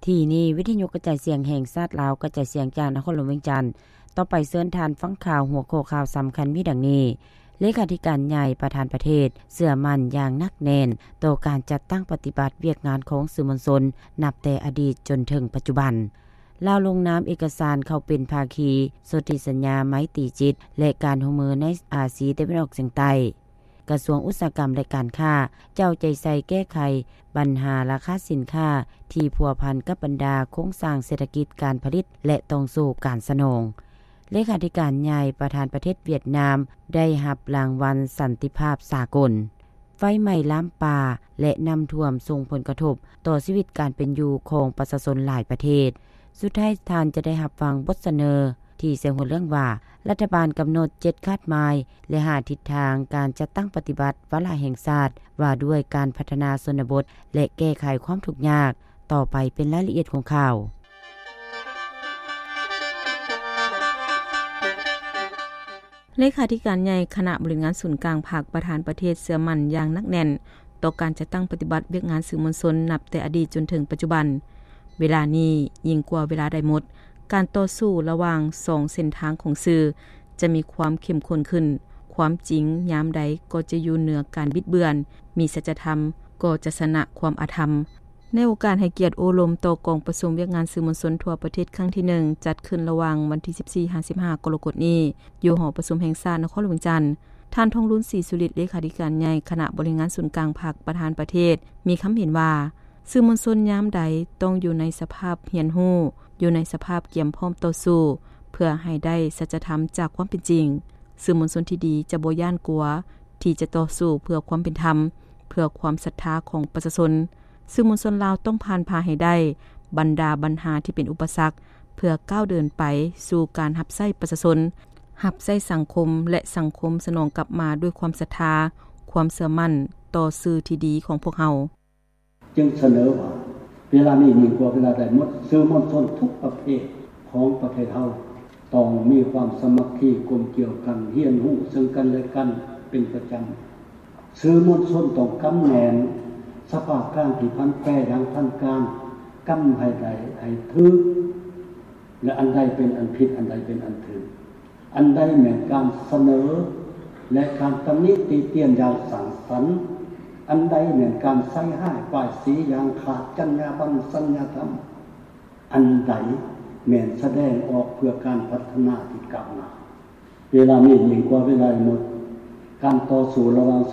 ທີ່ນີ້ ວິທະຍຸກະຈາຍສຽງແຫ່ງຊາດລາວ ກະຈາຍສຽງຈາກນະຄອນຫຼວງວຽງຈັນ. ຕໍ່ໄປເຊີນທ່ານຟັງຂ່າວ ຫົວຂໍ້ຂ່າວສຳຄັນມີດັ່ງນີ້: ເລຂາທິການໃຫຍ່ປະທານປະເທດເຊື່ອໝັ້ນຢ່າງໜັກແໜ້ນຕໍ່ການຈັດຕັ້ງປະຕິບັດວຽກງານຂອງສື່ມວນຊົນ ນັບແຕ່ອະດີດຈົນເຖິງປັດຈຸບັນ. ລາວລົງນາມເອກະສານເຂົ້າເປັນພາຄີສົນທິສັນຍາໄມຕີຈິດ ແລະ ການຮ່ວມມືໃນອາຊີຕາເວັນອອກສຽງໃຕ້. ກະຊວງອຸດສາຫະກຳ ແລະ ການຄ້າ ເຈົ້າໃຈໃສ່ແກ້ໄຂບັນຫາລາຄາສິນຄ້າທີ່ພົວພັນກັບບັນດາໂຄງສ້າງເສດຖະກິດ, ການຜະລິດ ແລະ ຕ່ອງໂສ້ການສະໜອງ. ເລຂາທິການໃຫຍ່ປະທານປະເທດຫວຽດນາມ ໄດ້ຮັບລາງວັນສັນຕິພາບສາກົນ. ໄຟໄໝ້ລາມປ່າ ແລະ ນ້ຳຖ້ວມສົ່ງຜົນກະທົບຕໍ່ຊີວິດການເປັນຢູ່ຂອງປະຊາຊົນຫຼາຍປະເທດ. ສຸດທ້າຍທ່ານຈະໄດ້ຮັບຟັງບົດສະເໜີທີ່ໃສ່ຫົວເລື່ອງວ່າ ລັດຖະບານກຳນົດເຈັດຄາດໝາຍ ແລະ ຫ້າທິດທາງການຈັດຕັ້ງປະຕິບັດວາລະແຫ່ງຊາດວ່າດ້ວຍການພັດທະນາຊົນນະບົດ ແລະ ແກ້ໄຂຄວາມທຸກຍາກ. ຕໍ່ໄປເປັນລາຍລະອຽດຂອງຂ່າວ. ເລຂາທິການໃຫຍ່ຄະນະບໍລິຫານງານສູນກາງພັກ ປະທານປະເທດເຊື່ອໝັ້ນຢ່າງໜັກແໜ້ນຕໍ່ການຈັດຕັ້ງປະຕິບັດວຽກງານສື່ມວນຊົນ ນັບແຕ່ອະດີດຈົນເຖິງປັດຈຸບັນ. ເວລານີ້ຍິ່ງກວ່າເວລາໃດໝົດ, ການຕໍ່ສູ້ລະຫວ່າງສອງເສັ້ນທາງຂອງສື່ຈະມີຄວາມເຂັ້ມຂຸ້ນຂຶ້ນ. ຄວາມຈິງຍາມໃດກໍຈະຢູ່ເໜືອການບິດເບືອນ, ມີສັດຈະທຳກໍຈະຊະນະຄວາມອະທຳ. ໃນໂອກາດໃຫ້ກຽດໂອ້ລົມຕໍ່ກອງປະຊຸມວຽກງານສື່ມວນຊົນທົ່ວປະເທດຄັ້ງທີໜຶ່ງ ຈັດຂຶ້ນລະຫວ່າງວັນທີສິບສີ່ຫາສິບຫ້າກໍລະກົດນີ້ ຢູ່ຫໍປະຊຸມແຫ່ງຊາດນະຄອນຫຼວງວຽງຈັນ, ທ່ານ ທອງລຸນ ສີສຸລິດ ເລຂາທິການໃຫຍ່ຄະນະບໍລິຫານງານສູນກາງພັກ ປະທານປະເທດ ມີຄຳເຫັນວ່າ ສື່ມວນຊົນຍາມໃດຕ້ອງຢູ່ໃນສະພາບຮຽນຮູ້, ຢູ່ໃນສະພາບກຽມພ້ອມຕໍ່ສູ້ ເພື່ອໃຫ້ໄດ້ສັດຈະທຳຈາກຄວາມເປັນຈິງ. ສື່ມວນຊົນທີ່ດີຈະບໍ່ຢ້ານກົວທີ່ຈະຕໍ່ສູ້ເພື່ອຄວາມເປັນທຳ, ເພື່ອຄວາມສັດທາຂອງປະຊາຊົນ. ສື່ມວນຊົນລາວຕ້ອງຜ່ານຜ່າໃຫ້ໄດ້ບັນດາບັນຫາທີ່ເປັນອຸປະສັກ ເພື່ອກ້າວເດີນໄປສູ່ການຮັບໃຊ້ປະຊາຊົນ, ຮັບໃຊ້ສັງຄົມ ແລະ ສັງຄົມສະໜອງກັບມາດ້ວຍຄວາມສັດທາ, ຄວາມເຊື່ອໝັ້ນຕໍ່ສື່ທີ່ດີຂອງພວກເຮົາ. ຈຶ່ງສະເໜີວ່າ ເວລານີ້ຍິ່ງກວ່າເວລາໃດໝົດ, ສື່ມວນຊົນທຸກປະເພດຂອງປະເທດເຮົາ ຕ້ອງມີຄວາມສາມັກຄີກົມກຽວກັນ, ຮຽນຮູ້ເຊິ່ງກັນແລະກັນເປັນປະຈຳ. ສື່ມວນຊົນຕ້ອງກຳແໜ້ນສະພາບການທີ່ຜັນແປຢ່າງທັນການ, ກຳໃຫ້ໄດ້ໃຫ້ຖືກ ແລະ ອັນໃດເປັນອັນຜິດ, ອັນໃດເປັນອັນຖືກ, ອັນໃດແມ່ນການສະເໜີ ແລະ ການຕຳໜິຕິຕຽນຢ່າງສ້າງສັນ, ອັນໃດແມ່ນການໃສ່ຮ້າຍປ້າຍສີຢ່າງຂາດຈັນຍາບັນ, ສັນຍາທຳ, ອັນໃດແມ່ນສະແດງອອກເພື່ອການພັດທະນາທີ່ກ້າວໜ້າ. ເວລານີ້ຍິ່ງກວ່າເວລາໃດໝົດ, ການຕໍ່ສູ້ລະຫວ່າງ